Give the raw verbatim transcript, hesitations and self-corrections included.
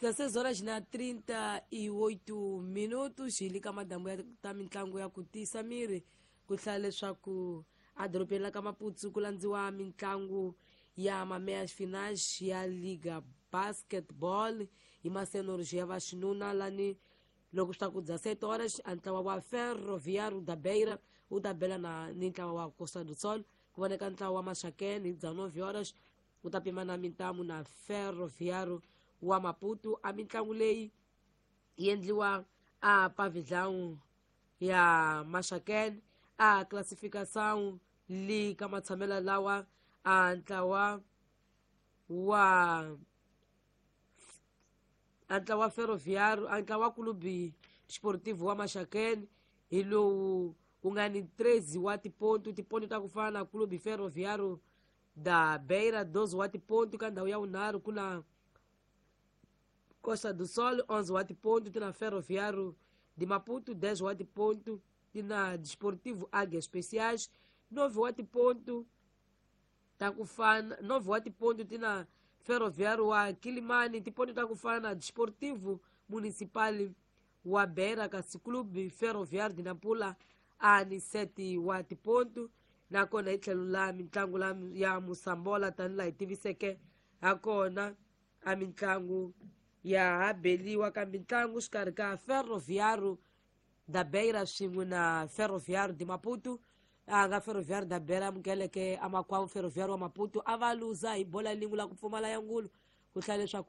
dezesseis horas na trinta e oito minutos. Hi le ka madambu ya ta mitlangu ya ku tiyisa miri. Ku hlaya leswaku edorobeni la ka Maputo ku landziwa mitlangu ya mameias finais ya Liga Basketball hi masenors ya vaxinuna, lani loko swi ta ku dezessete horas a ntlawa wa Ferroviário da Beira wu ta bela na ni ntlawa wa Costa do Sol. Ku voneka ntlawa wa Maxaquene hi dezenove horas wu ta pima na mintamu na Ferroviário wa Maputo. A mitlangu leyi yi endliwa a pavilhão ya Maxaquene. A classificação li ka matshamelo lawa, a ntlawa wa a ntlawa wa Ferroviário, a ntlawa wa Clube Desportivo wa Maxaquene hi lowu wu nga ni treze wa tiponto, tiponto ta ku fana na Clube Ferroviário da Beira, doze wa tiponto. Ka ndhawu ya vunharhu ku na Costa do Sol, onze wa tiponto, ti na Ferroviário de Maputo, dez wa tiponto, ti na Desportivo Águias Especiais, nove wa tiponto ta ku fana, nove wa tiponto ti na Ferroviário wa Quilimane, tiponto ta ku fana na Desportivo Municipal wa Beira, kasi Clube Ferroviário de Nampula a ni sete wa tiponto. Nakona hi tlhelo la mitlangu la ya musambola, tanihi laha hi tiviseke hakona, a mitlangu ya ha beliwa ka mitlangu xikarhi ka Ferroviário da Beira swin'we na Ferroviário de Maputo. A nga Ferroviário da Beira amukeleke amakwavo Ferroviário wa Maputo, a va luza hi bola lin'we la ku pfumala ya ngulu. Ku hlaya leswaku